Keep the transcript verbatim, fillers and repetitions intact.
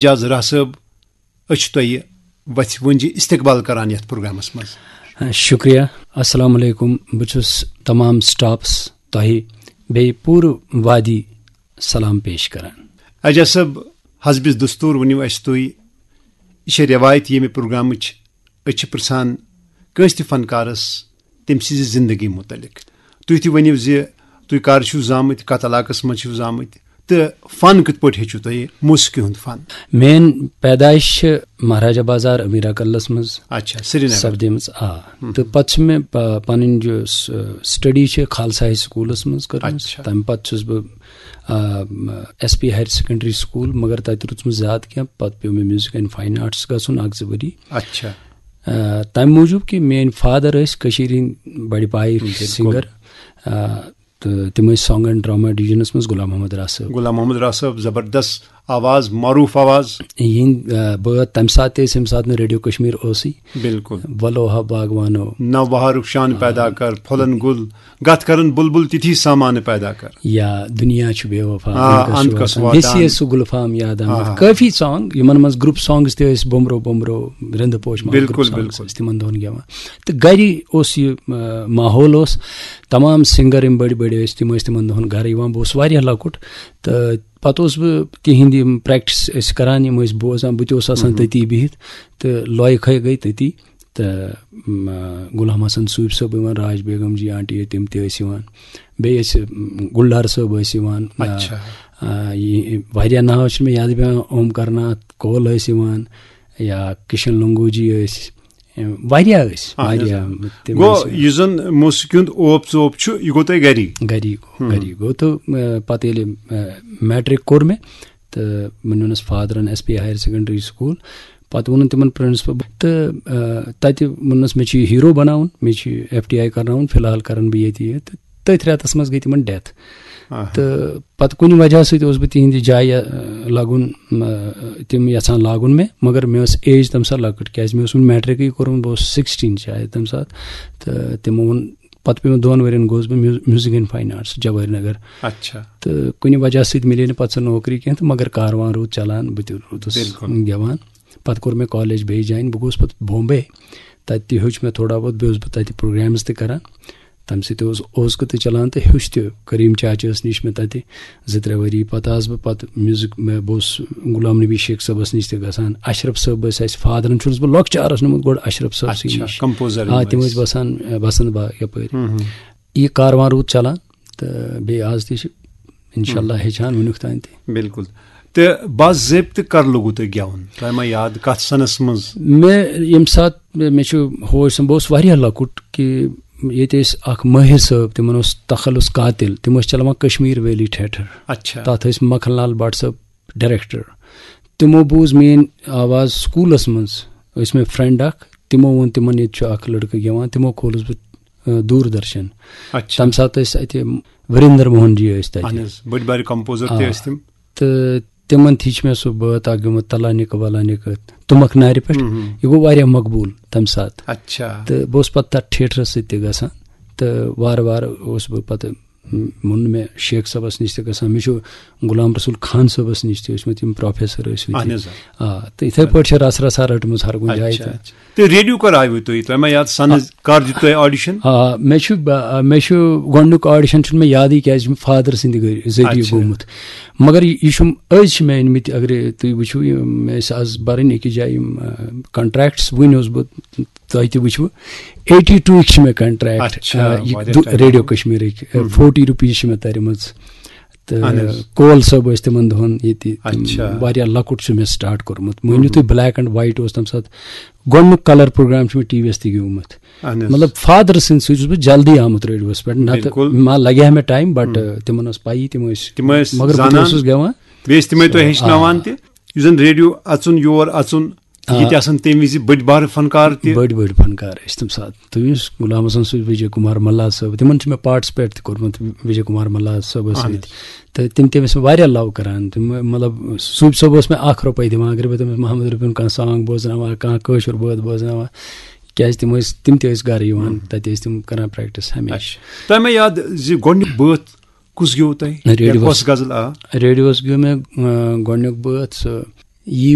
اعجاز راہ صٲب، أسۍ چھِ تۄہہِ وَژھِ وٕنجہِ استقبال کران یَتھ پروگرامَس منٛز۔ شُکریہ۔ السلام علیکم۔ بہٕ چھُس تمام سٹافَس تۄہہِ بیٚیہِ پوٗرٕ وادی سلام پیش کران۔ اعجاز صٲب، حسبِ دستور ؤنِو اَسہِ تُہۍ، یہِ چھےٚ رٮ۪وایت ییٚمہِ پروگرامٕچ، أسۍ چھِ پرٛژھان کٲنٛسہِ تہِ فنکارَس تٔمۍ سٕنٛزِ زندگی متعلق۔ تُہۍ تہِ ؤنِو زِ تُہۍ کر چھِو زامٕتۍ، کتھ علاقس منٛز چھِو زامٕتۍ، تہٕ فن کِتھ پٲٹھۍ ہیٚچھِو تۄہہِ، موسیقی ہُنٛد فن؟ میٲنۍ پیدائش چھِ مہاراجہ بازار امیرا کلس منٛز اچھا، سرینگر۔ سپدیمٕژ، آ۔ تہٕ پتہٕ چھِ مےٚ پ-، پنٕنۍ یۄس، آ، سٹڈی چھِ خالصہ ہاے سکولس منٛز کٔرمٕژ۔ اچھا۔ تمہِ پتہٕ چھُس بہٕ، آ، S P higher secondary school, مگر تتہِ روٗدُس نہٕ زیادٕ کینٛہہ۔ پتہٕ پیوٚو مےٚ میوزک اینڈ فاین آرٹس گژھُن اکھ زٕ ؤری۔ اچھا۔ آ، تمہِ موٗجوٗب کہِ میٲنۍ فادر ٲسۍ کٔشیٖرِ ہٕنٛدۍ بڑِ پایِکۍ بِلکُل۔ سِنگر۔ آ، تہٕ تِم ٲسۍ سانگ اینڈ ڈراما ڈویژنس منٛز غلام محمد راہ صٲب۔ غلام محمد راہ صٲب، زبردست آواز، معروٗف آواز۔ یِہِنٛدۍ، آ، بٲتھ تَمہِ ساتہٕ تہِ ٲسۍ، ییٚمہِ ساتہٕ نہٕ ریڈیو کشمیر اوسُے۔ بِلکُل۔ ولو ہا باغوانو۔ نہ بہارُک شان پیدا کر، پھۄلن گُل، گتھ کرن بلبل تِتھی سامان پیدا کر۔ یا دُنیا چھُ بے وفا، آ، اَنٛد کس اَنٛد چھُ کس واتان۔ واتان۔ بیٚیہِ ٲسۍ سُہ گُلفام یاد آمُت۔ آ۔ کٲفی سانگ، یِمن منٛز گروپ سانگز تہِ ٲسۍ، بومبرو بومبرو، رِنٛدٕ پوش ماہ بِلکُل، گروپ سانگز بِلکُل۔ ٲسۍ تِمن دۄہن گٮ۪وان۔ تہٕ گرِ اوس یہِ، آ، ماحول اوس، تمام سِنگر یِم بٔڑۍ بٔڑۍ ٲسۍ، تِم ٲسۍ تِمن دۄہن گرٕ یِوان۔ بہٕ اوسُس واریاہ لۄکُٹ، تہٕ پتہٕ اوسُس بہٕ تِہِنٛدۍ یِم پریکٹس ٲسۍ کران، یِم ٲسۍ بوزان، بہٕ تہِ اوسُس آسان تٔتی بِہِتھ، تہٕ لۄیہِ کھے گٔے تٔتی۔ تہٕ، م، غلام حسن صوٗفۍ صٲب یِوان، راج بیگم جی آنٹی تِم تہِ ٲسۍ یِوان، بیٚیہِ ٲسۍ، م، گُلڈار صٲب ٲسۍ یِوان۔ آ، اچھا۔ آ، یہِ، واریاہ ناو چھِنہٕ مےٚ یاد پٮ۪وان، اوم کرناتھ کول ٲسۍ یِوان، یا کشن لنگو جی ٲسۍ، واریاہ ٲسۍ، اہن حظ، واریاہ۔ آ۔ تِم گوٚو ٲسۍ یُس زن موسیقی ہُنٛد اوپ ژوپ چھُ، یہِ گوٚو تۄہہِ گری؟ گری گوٚو، گری گوٚو۔ تہٕ، آ، پتہٕ ییٚلہِ، آ، میٹرک کوٚر مےٚ، تہٕ مےٚ نیونس فادرن S P higher secondary school. پتہٕ ووٚنُن تِمن پرنسپل، تہٕ، آ، تتہِ ووٚننس، مےٚ چھُ یہِ ہیرو بناوُن، مےٚ چھُ یہِ ایف ٹی آی کرناوُن، فی الحال کرن بہٕ ییٚتہِ یہِ۔ تہٕ تٔتھۍ رٮ۪تس منٛز گٔے تِمن ڈیتھ۔ آہا۔ تہٕ پتہٕ کُنہِ وجہ سۭتۍ اوسُس بہٕ تِہنٛدِ جایہِ، آ، لگُن، آ، تِم یژھان لاگُن مےٚ، مگر مےٚ ٲس ایج تمہِ ساتہٕ لۄکٕٹ، کیازِ مےٚ اوس وُنہِ میٹرکٕے کوٚرمُت، بہٕ اوسُس سکسٹیٖن شاید تمہِ ساتہٕ۔ تہٕ تِمو ووٚن، پتہٕ پیوٚو مےٚ دۄن ؤرین گوس بہٕ muse-, music and fine arts جوہری نگر۔ اچھا۔ تہٕ کُنہِ وجہ سۭتۍ مِلے نہٕ پتہٕ سۄ نوکری کینٛہہ، تہٕ مگر کاروان روٗد چلان، بہٕ تہِ روٗدُس بِلکُل۔ گٮ۪وان۔ پتہٕ کوٚر مےٚ کالج بیٚیہِ جوین، بہٕ گوس پتہٕ بومبے، تتہِ تہِ ہیوٚچھ مےٚ تھوڑا بہت، بیٚیہِ اوسُس بہٕ تتہِ پروگرامز تہِ کران۔ تَمہِ سۭتۍ اوس اوزکہٕ تہِ چلان تہٕ ہیوٚچھ تہِ۔ کریٖم چاچہٕ ٲس نِش مےٚ تَتہِ زٕ ترٛےٚ ؤری۔ پَتہٕ آس بہٕ پَتہٕ میوٗزِک، مےٚ، بہٕ اوسُس غلام نبی شیخ صٲبَس نِش تہِ گژھان۔ اشرف صٲب ٲسۍ اَسہِ فادرَن، چھُنَس بہٕ لۄکچارَس نِمُت گۄڈٕ اشرف صٲبسٕے اچھا، نِش۔ کمپوزر آ، یِم تِم ٲسۍ۔ ٲسۍ بسان، اَ، بسنت باغ یَپٲرۍ۔ ہُم، ہُم۔ یہِ کاروان روٗد چلان تہٕ بیٚیہِ آز تہِ چھِ، اِنشاء اللہ، ہُم۔ ہیٚچھان وُنیُک تام تہِ۔ بِلکُل۔ تہٕ باضٲبطہٕ کر لوٚگوٕ تۄہہِ گٮ۪وُن؟ تۄہہِ ما یاد کَتھ سَنَس منٛز؟ مےٚ ییٚمہِ ساتہٕ مےٚ، مےٚ چھُ ہوش، بہٕ اوسُس واریاہ لۄکُٹ، کہِ ییٚتہِ ٲسۍ اکھ مٲہِر صٲب، تِمن اوس تخلص قاتل، تِم ٲسۍ چلاوان کشمیر ویلی تھیٹر۔ اچھا۔ تتھ ٲسۍ مکھن لال بٹ صٲب ڈائریکٹر۔ تِمو بوٗز میٲنۍ آواز سکوٗلس منٛز، ٲسۍ مےٚ فرینڈ اکھ، تِمو ووٚن تِمن، ییٚتہِ چھُ اکھ لڑکہٕ گٮ۪وان، تِمو کھولُس بہٕ، آ، دوٗردرشن۔ اچھا۔ تمہِ ساتہٕ ٲسۍ اتہِ وریندر موہن جی ٲسۍ تتہِ۔ اہن حظ، بٔڑۍ بارِ کمپوزر تہِ آ۔ ٲسۍ تِم۔ تہٕ تِمن تہِ چھِ مےٚ سُہ بٲتھ اکھ گیومُت، تلانِکہٕ ولانِکہٕ تُمکھ نارِ پٮ۪ٹھ۔ ہُم، ہُم۔ یہِ گوٚو واریاہ مقبوٗل تَمہِ ساتہٕ۔ اچھا۔ تہٕ بہٕ اوسُس پَتہٕ تَتھ تھیٹرَس سۭتۍ تہِ گژھان۔ تہٕ وارٕ وارٕ اوسُس بہٕ پَتہٕ، م، ووٚن مےٚ شیخ صٲبَس نِش تہِ گژھان، مےٚ چھُ غلام رسول خان صٲبَس نِش تہِ ٲسمٕتۍ یِم پروفیسر ٲسۍ مٕتۍ۔ اہن حظ، آ۔ آ، تہٕ یِتھَے پٲٹھۍ چھِ رَژھ رَژھ ہر رٔٹمٕژ ہر کُنہِ جایہِ اچھا، تہِ۔ اچھا۔ تہٕ ریڈیو کر آیوٕ تُہۍ؟ تۄہہِ ما یاد سَنٕز کر دیُت تۄہہِ آڈیشن؟ آ، مےٚ چھُ، ب-، مےٚ چھُ گۄڈٕنیُک آڈیشن چھُنہٕ مےٚ یادٕے، کیازِ چھُ مےٚ فادر سٕنٛدِ گٔرِ-، ذٔریعہٕ اچھا۔ گوٚمُت۔ مگر یہِ، یہِ چھُم، أزۍ چھِ مےٚ أنمٕتۍ، اگرے تُہۍ وٕچھِو، یِم ٲسۍ آز برٕنۍ أکِس جایہِ یِم، آ، کنٹریکٹس، وٕنۍ اوسُس بہٕ، تۄہہِ تہِ وٕچھِوٕ، ایٹی ٹوٗ چھِ مےٚ کنٹریکٹ، اچھا، آ، یہِ واریاہ دُ-، ٹایم۔ ریڈیو کشمیرٕکۍ، آ، ہُم۔ فورٹی رُپیٖز چھِ مےٚ تَرِمٕژ۔ تہٕ اہن حظ۔ کول صٲب ٲسۍ تِمن دۄہن ییٚتہِ، تِم اچھا۔ واریاہ لۄکُٹ چھُ مےٚ سٹارٹ کوٚرمُت۔ مٲنِو ہُم۔ تُہۍ، بلیک اینڈ وایٹ اوس تَمہِ ساتہٕ، گۄڈٕنیُک کلر پروگرام چھُ مےٚ ٹی وی یَس تہِ گیومُت۔ اہن حظ۔ مطلب، فادر سٕنٛدِ سۭتۍ چھُس بہٕ جلدی آمُت ریڈیوَس پٮ۪ٹھ، نَتہٕ بِلکُل۔ ما لَگہِ ہا مےٚ ٹایم، بٹ، ہُم۔ تِمَن ٲس پَیی، تِم ٲسۍ، تِم ٲسۍ مگر بہٕ تہِ زانان۔ اوسُس گٮ۪وان۔ بیٚیہِ ٲسۍ تِمے تۄہہِ آ۔ ہیٚچھناوان تہِ، یُس زَن ریڈیو اَژُن، یور اَژُن، آ۔ ییٚتہِ آسان تَمہِ وِزِ بٔڑۍ بارٕ فنکار تہِ۔ بٔڑۍ بٔڑۍ فنکار ٲسۍ تَمہِ ساتہٕ۔ تُہۍ یُس غلام حسن صٲب، وجے کمار ملار صٲب، تِمن چھُ مےٚ پارٹسپیٹ تہِ کوٚرمُت، وجے کمار ملار صٲبَس اہن سۭتۍ۔ حظ۔ تہٕ تِم تہِ ٲسۍ مےٚ واریاہ لو کران۔ تِم، مطلب، صوٗفۍ صٲب اوس مےٚ اکھ رۄپَے دِوان، اگر بہٕ تٔمِس محمد رفیٖعُن کانٛہہ سانگ بوزناوان، کانٛہہ کٲشُر بٲتھ بوزناوان، کیازِ تِم ٲسۍ، تِم تہِ ٲسۍ گرٕ یِوان، ہُم۔ تَتہِ ٲسۍ تِم کران پریکٹس ہمیشہِ۔ اچھا۔ تۄہہِ مےٚ یاد زِ گۄڈٕنیُک بٲتھ کُس گیوٚو تۄہہِ؟ ریڈیوَس۔ یا کۄس غزل آ؟ ریڈیوَس گیوٚو مےٚ، آ، گۄڈٕنیُک بٲتھ، سُہ یی